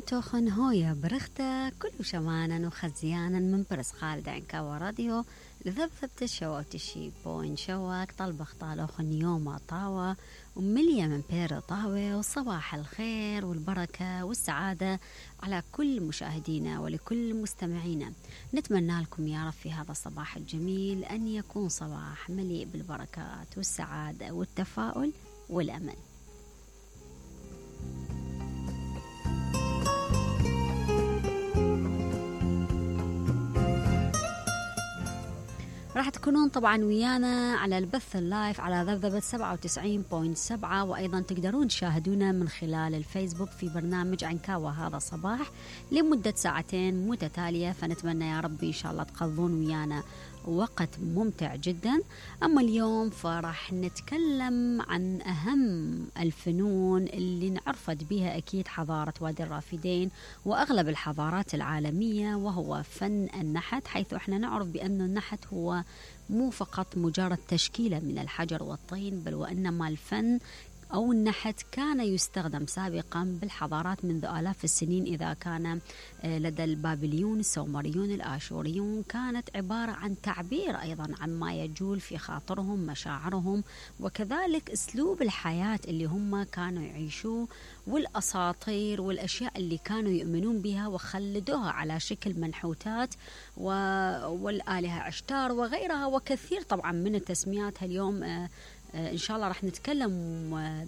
توخن هويا برختا كل شمانا وخزيانا من برس خالد عنكا وراديو لذبذبت الشواتشي بوين شواك طلبخ طالوخن يوم طاوة ومليا من بير طاوة وصباح الخير والبركة والسعادة على كل مشاهدينا ولكل مستمعينا. نتمنى لكم يا رب في هذا الصباح الجميل أن يكون صباح مليء بالبركات والسعادة والتفاؤل والأمل. راح تكونون طبعا ويانا على البث اللايف على ذبذبة 97.7 وأيضا تقدرون تشاهدونا من خلال الفيسبوك في برنامج عنكاوة هذا صباح لمدة ساعتين متتالية. فنتمنى يا رب إن شاء الله تقضون ويانا وقت ممتع جدا. أما اليوم فراح نتكلم عن أهم الفنون اللي انعرفت بها أكيد حضارة وادي الرافدين وأغلب الحضارات العالمية، وهو فن النحت، حيث احنا نعرف بأن النحت هو مو فقط مجرد تشكيلة من الحجر والطين، بل وإنما الفن أو النحت كان يستخدم سابقا بالحضارات منذ آلاف السنين. إذا كان لدى البابليون، السومريون، الآشوريون، كانت عبارة عن تعبير أيضا عن ما يجول في خاطرهم، مشاعرهم، وكذلك أسلوب الحياة اللي هم كانوا يعيشوه والأساطير والأشياء اللي كانوا يؤمنون بها وخلدوها على شكل منحوتات والآلهة عشتار وغيرها وكثير طبعا من التسميات. اليوم إن شاء الله رح نتكلم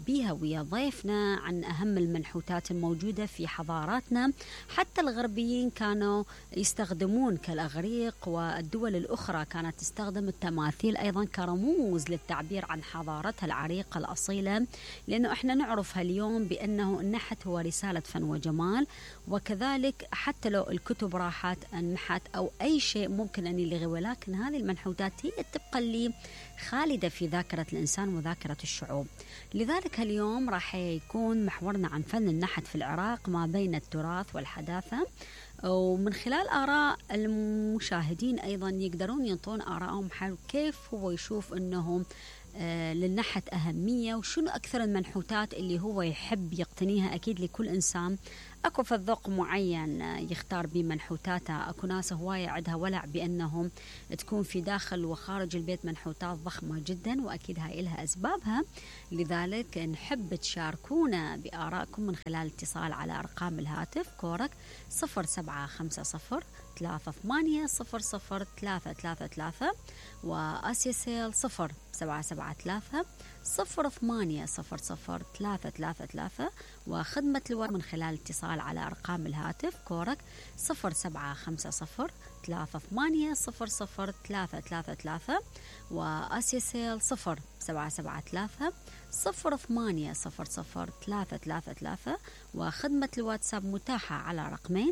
بيها ويا ضيفنا عن أهم المنحوتات الموجودة في حضاراتنا. حتى الغربيين كانوا يستخدمون كالأغريق والدول الأخرى كانت تستخدم التماثيل أيضا كرموز للتعبير عن حضارتها العريقة الأصيلة، لأنه إحنا نعرفها اليوم بأنه النحت هو رسالة فن وجمال. وكذلك حتى لو الكتب راحت النحت أو أي شيء ممكن أن يلغي، ولكن هذه المنحوتات هي تبقى اللي خالدة في ذاكرة الإنسان وذاكرة الشعوب. لذلك اليوم راح يكون محورنا عن فن النحت في العراق ما بين التراث والحداثة، ومن خلال آراء المشاهدين أيضا يقدرون ينطون آراءهم حول كيف هو يشوف أنهم للنحت أهمية وشنو أكثر المنحوتات اللي هو يحب يقتنيها. أكيد لكل إنسان أكو في ذوق معين يختار بمنحوتاته. أكو ناس هواية عندها ولع بأنهم تكون في داخل وخارج البيت منحوتات ضخمة جدا، وأكيد هاي لها أسبابها. لذلك نحب تشاركونا بآرائكم من خلال اتصال على أرقام الهاتف كورك 0754-3800-333 وآسيا سيل 0773-0800-333 وخدمة الورق من خلال اتصال على أرقام الهاتف كورك 0755-3800-333 وآسيا سيل 0773-0800-333 وخدمة الواتساب متاحة على رقمين